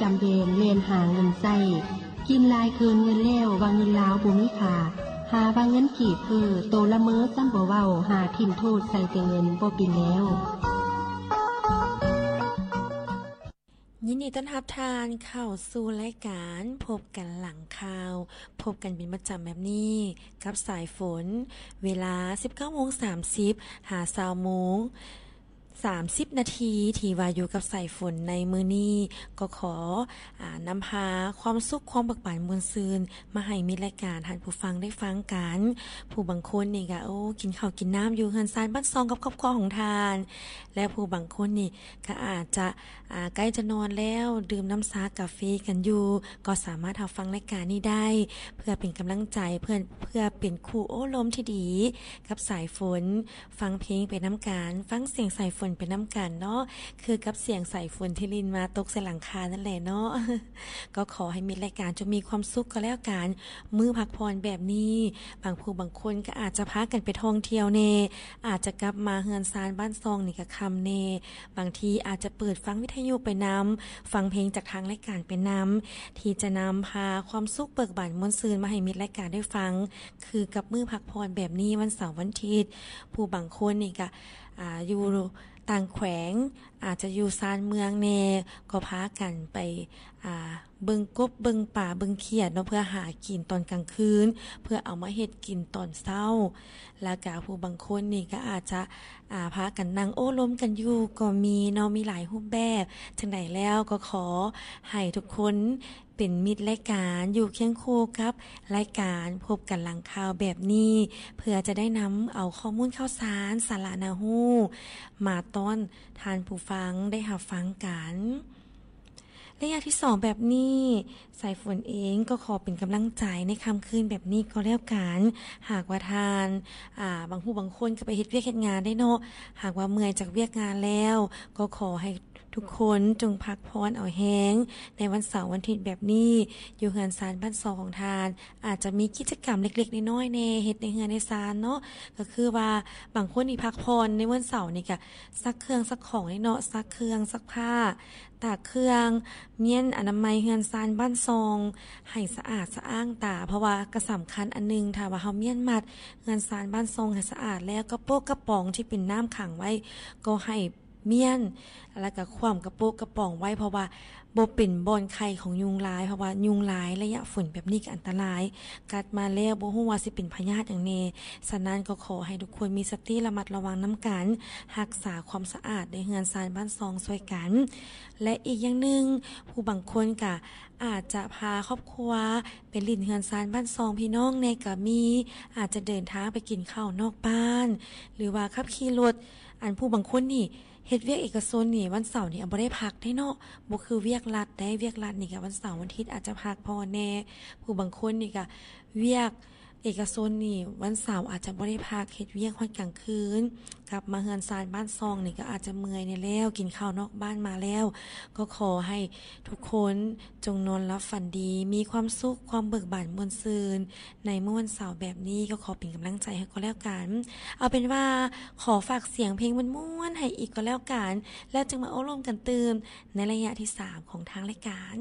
ຈຳແບນແລ່ນຫາເງິນໃຊ້ ກິນຫຼາຍເກີນເງິນແລ້ວ ວ່າເງິນລາວບໍ່ມີຄ່າ ຫາວ່າເງິນກີບເຟີ້ ໂຕລະເມີຊ້ຳບໍ່ເວົ້າ ຫາຖິ້ມໂທດໃສ່ແຕ່ເງິນບໍ່ເປັນແລ້ວ. ຍິນດີຕ້ອນຮັບທ່ານເຂົ້າສູ່ລາຍການພົບກັນຫຼັງຂ່າວ, ພົບກັນເປັນປະຈຳແບບນີ້ກັບສາຍຝົນ, ເວລາສິບເກົ້າໂມງສາມສິບ ຫາຊາວໂມງ ສາມສິບນາທີ ທີ່ວ່າຢູ່ກັບສາຍຝົນໃນມື້ນີ້ ກໍຂໍ ອາ ນຳພາຄວາມສຸກຄວາມເບີກບານມ່ວນຊື່ນມາໃຫ້ມິດລາຍການທ່ານຜູ້ຟັງໄດ້ຟັງກັນ. ຜູ້ບາງຄົນນີ້ກະ ໂອ້ ກິນເຂົ້າກິນນ້ຳຢູ່ເຮືອນຊານບ້ານຊ່ອງກັບຄອບຄົວຂອງທ່ານ ແລະ ຜູ້ບາງຄົນນີ້ກະອາດຈະ ອາ ໃກ້ຈະນອນແລ້ວ ດື່ມນ້ຳຊາກາເຟກັນຢູ່ ກໍສາມາດຮັບຟັງລາຍການນີ້ໄດ້ ເພື່ອເປັນກຳລັງໃຈ ເພື່ອ ເພື່ອເປັນຄູ່ໂອ້ລົມທີ່ດີກັບສາຍຝົນ. ຟັງເພງໄປນຳກັນ, ຟັງສຽງສາຍຝົນໄປນຳກັນເນາະ, ຄືກັບສຽງສາຍຝົນທີ່ລິນມາຕົກໃສ່ຫຼັງຄານັ້ນແຫຼະເນາະ. ກໍຂໍໃຫ້ມິດລາຍການຈົ່ງມີຄວາມສຸກກໍແລ້ວກັນ. ມື້ພັກຜ່ອນແບບນີ້ ບາງຜູ້ບາງຄົນກໍອາດຈະພາກັນໄປທ່ອງທ່ຽວແດ່, ອາດຈະກັບມາເຮືອນຊານບ້ານຊ່ອງນີ້ກໍຄ່ຳແດ່, ບາງທີອາດຈະເປີດຟັງວິທະຍຸໄປນຳ, ຟັງເພງຈາກທາງລາຍການໄປນຳ, ທີ່ຈະນຳພາຄວາມສຸກເບີກບານມ່ວນຊື່ນມາໃຫ້ມິດລາຍການໄດ້ຟັງ. ຄືກັບມື້ພັກຜ່ອນແບບນີ້ ວັນເສົາວັນທິດ ຜູ້ບາງຄົນນີ້ກະ ອາ ຢູ່ຕ່າງແຂວງ ອາດຈະຢູ່ຊານເມືອງແດ່ ກໍພາກັນໄປ ອາ ເບິ່ງກົບເບິ່ງປາເບິ່ງຂຽດເນາະ ເພື່ອຫາກິນຕອນກາງຄືນ ເພື່ອເອົາມາເຮັດກິນຕອນເຊົ້າ. ແລ້ວກະຜູ້ບາງຄົນນີ້ກະອາດຈະ ອາ ພາກັນນັ່ງໂອ້ລົມກັນຢູ່ກໍມີເນາະ, ມີຫຼາຍຮູບແບບ. ຈັ່ງໃດແລ້ວກໍຂໍໃຫ້ທຸກຄົນ ເປັນມິດລາຍການ ຢູ່ຄຽງຄູ່ກັບລາຍການພົບກັນຫຼັງຂ່າວແບບນີ້ ເພື່ອຈະໄດ້ນຳເອົາຂໍ້ມູນຂ່າວສານ ສາລະໜ້າຮູ້ ມາຕ້ອນທ່ານຜູ້ຟັງໄດ້ຮັບຟັງກັນ. ໄລຍະທີສອງແບບນີ້ ສາຍຝົນເອງກໍຂໍເປັນກຳລັງໃຈໃນຄ່ຳຄືນແບບນີ້ກໍແລ້ວກັນ. ຫາກວ່າທ່ານ ອາ ບາງຜູ້ບາງຄົນກໍໄປເຮັດວຽກເຮັດງານໄດ້ເນາະ, ຫາກວ່າເມື່ອຍຈາກວຽກງານແລ້ວ ກໍຂໍໃຫ້ ທຸກຄົນຈົ່ງພັກຜ່ອນເອົາແຮງໃນວັນເສົາວັນທິດແບບນີ້. ຢູ່ເຮືອນຊານບ້ານຊ່ອງຂອງທ່ານ ອາດຈະມີກິດຈະກຳເລັກໆນ້ອຍໆແດ່ ເຮັດໃນເຮືອນໃນຊານເນາະ, ກໍຄືວ່າບາງຄົນນີ້ພັກຜ່ອນໃນວັນເສົານີ້ກະຊັກເຄື່ອງຊັກຂອງເນາະ, ຊັກເຄື່ອງ ຊັກຜ້າ ຕາກເຄື່ອງ, ມ້ຽນອະນາໄມເຮືອນຊານບ້ານຊ່ອງໃຫ້ສະອາດສະອ້າງຕາ, ເພາະວ່າກະສຳຄັນອັນໜຶ່ງ ຖ້າວ່າເຮົາມ້ຽນມັດເຮືອນຊານບ້ານຊ່ອງໃຫ້ສະອາດແລ້ວ ກະໂປະກະປ໋ອງທີ່ເປັນນ້ຳຂັງໄວ້ກໍໃຫ້ ມ້ຽນ ແລ້ວກະຂວ້ຳກະໂປະກະປ໋ອງໄວ້ ເພາະວ່າບໍ່ເປັນບ່ອນໄຂ່ຂອງຍຸງລາຍ, ເພາະວ່າຍຸງລາຍໄລຍະຝົນແບບນີ້ກະອັນຕະລາຍ, ກັດມາແລ້ວບໍ່ຮູ້ວ່າຊິເປັນພະຍາດຫຍັງແດ່. ສະນັ້ນກໍຂໍໃຫ້ທຸກຄົນມີສະຕິລະມັດລະວັງນຳກັນ, ຮັກສາຄວາມສະອາດໃນເຮືອນຊານບ້ານຊ່ອງຊ່ວຍກັນ. ແລະ ອີກຢ່າງໜຶ່ງ, ຜູ້ບາງຄົນກະອາດຈະພາຄອບຄົວໄປຫຼິ້ນເຮືອນຊານບ້ານຊ່ອງພີ່ນ້ອງແດ່ກະມີ, ອາດຈະເດີນທາງໄປກິນເຂົ້ານອກບ້ານ ຫຼືວ່າຂັບຂີ່ລົດ. ອັນຜູ້ບາງຄົນນີ້ ເຮັດວຽກເອກະຊົນນີ້ ວັນເສົານີ້ ອາ ບໍ່ໄດ້ພັກເດ້ເນາະ, ບໍ່ຄືວຽກລັດເດ້, ວຽກລັດນີ້ກະວັນເສົາວັນທິດອາດຈະພັກຜ່ອນແດ່. ຜູ້ບາງຄົນນີ້ກະວຽກເອກະຊົນນີ້ ວັນເສົາອາດຈະບໍ່ໄດ້ພັກ, ເຮັດວຽກຮອດກາງຄືນ, ກັບມາເຮືອນຊານບ້ານຊ່ອງນີ້ກະອາດຈະເມື່ອຍແດ່ແລ້ວ, ກິນເຂົ້ານອກບ້ານມາແລ້ວ. ກໍຂໍໃຫ້ທຸກຄົນ ຈົ່ງນອນຫຼັບຝັນດີ, ມີຄວາມສຸກ, ຄວາມເບີກບານມ່ວນຊື່ນ ໃນມື້ວັນເສົາແບບນີ້ ກໍຂໍເປັນກຳລັງໃຈໃຫ້ກໍແລ້ວກັນ. ເອົາເປັນວ່າ ຂໍຝາກສຽງເພງມ່ວນໆໃຫ້ອີກກໍແລ້ວກັນ, ແລ້ວຈຶ່ງມາໂອ້ລົມກັນຕື່ມໃນໄລຍະທີສາມຂອງທາງລາຍການ.